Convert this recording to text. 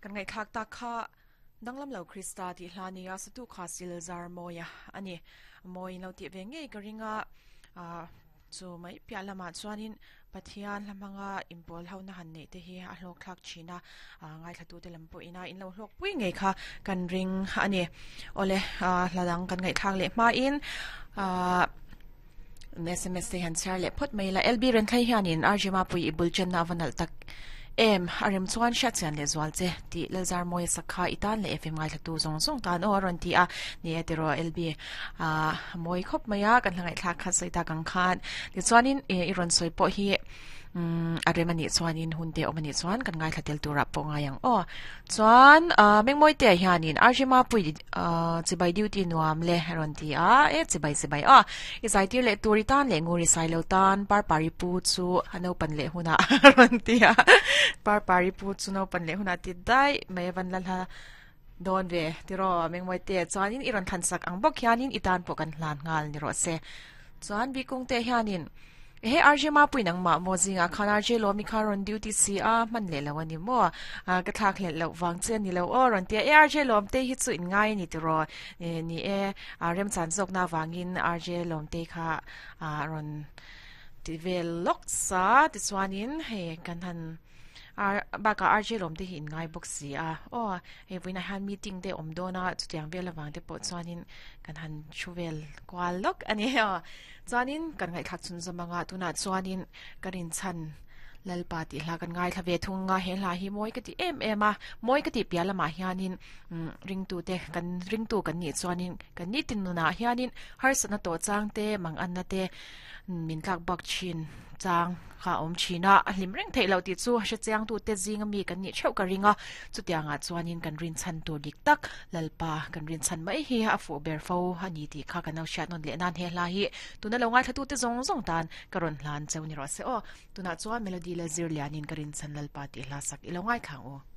Kan ngaihthlak tak kha Danglam lo Krista tih hla nia satu kha Silzar Mawia a ni. Mawi in lo tih ve ngei ka ring a, chu mai piah lamah chuanin Pathian hla hmanga inpawl ho na han neih te hi a hlawk thlak thin a, ngaithlatute lam pawhin a in lo hlawk pui ngei kha kan ring a ni. Awle, hla dang kan ngaihthlak leh hmain sms te han chhiar leh phawt mai ila. LB Renthlei hianin RJ Mapui i bul chenna a va nalh tak em, a rem chuan hriatchian leh zual che tih Lalzarmawia sakha i tan leh FM ngaithlatu zawng zawng tan aw a rawn ti a. Ni e tiraw LB, a mawi khawp mai a, kan hla ngaihthlak kha sawi tak ang khan. Tichuanin i rawn sawi pawh hi a rem a nih chuanin hun te awm a nih chuan kan ngaithla tel turah pawh ngai ang aw. Chuan Mengmawite hianin RJ Mapui chibai duty nuam le a rawn ti a, e chibai chibai aw. I zaitir leh tur i tan leh ngur i sai lo tan Parpari pu chu a naupan leh hunah a rawn ti a, Parpari pu chu naupan leh hunah ti daih mai a van la hla dawn ve tiraw Mengmawite chuanin i rawn thlansak ang bawk hianin i tan pawh kan hlan nghal ni rawh se. Chuan Bikungte hianin Ehe RJ Mapui nangmah maw zingah khan RJ Lawmi kha rawn duty si a, hman leh lo a ni maw? Ka thlak hlelh loh vang che a ni lo aw rawn ti a, e RJ Lawmtei hi chu in ngai a ni tiraw? Ni e, remchan zawkna avangin RJ Lawmtei kha rawn ti vel lawk sa tichuanin hei kan han Bakah RJ lawm te hi in ngai bawk si a, aw hei vawiinah hian meeting te awm dawn a, chutiang vel avang te pawh chuanin kan han thu vel kual lawk a ni aw. Chuanin kan ngaihthlak chhun zawm anga tunah chuanin ka rinchhan Lalpa tih hla kan ngaithla ve thung anga he hla hi mawi ka ti em em a, mawi ka tih piah lamah hianin ringtu te kan ringtu kan nih chuanin kan nitin nunah hianin harsatna tawh chang te manganna te min tlak bak thin chang kha a awm thin a, a hlim reng theih loh tih chu hre chiang tute zinga mi kan nih theuh ka ring a, chutiangah chuanin kan rinchhan tur dik tak Lalpa kan rinchhan mai hi a fuh ber fo a ni tih kha kan lo hriat nawn leh nan he hla hi tuna lo ngaithlatute zawng zawng tan ka rawn hlan cheu ni rawh se aw. Tunah chuan Melody Lalzirlianin ka rinchhan Lalpa tih hla sak i lo ngaithla ang u.